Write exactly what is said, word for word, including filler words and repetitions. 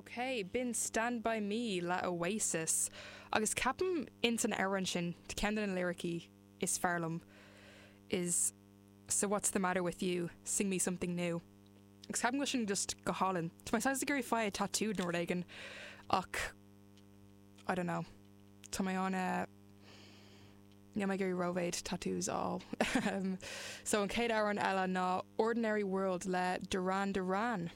Ok, b'in Stand By Me le Oasis. Agus ceapaim in san amhrán sin ceann de na liricí is fearr liom is so what's the matter with you sing me something new. Agus ceapaim go sin just go hálainn. Tá mé saghas ag iarraidh fáil tattooed nó rud éigin ach I don't know. Tá mé an uh, Níl mé ag iarraidh rómhéid tattoos á. um, so an chéad amhrán eile ná Ordinary World le Duran Duran.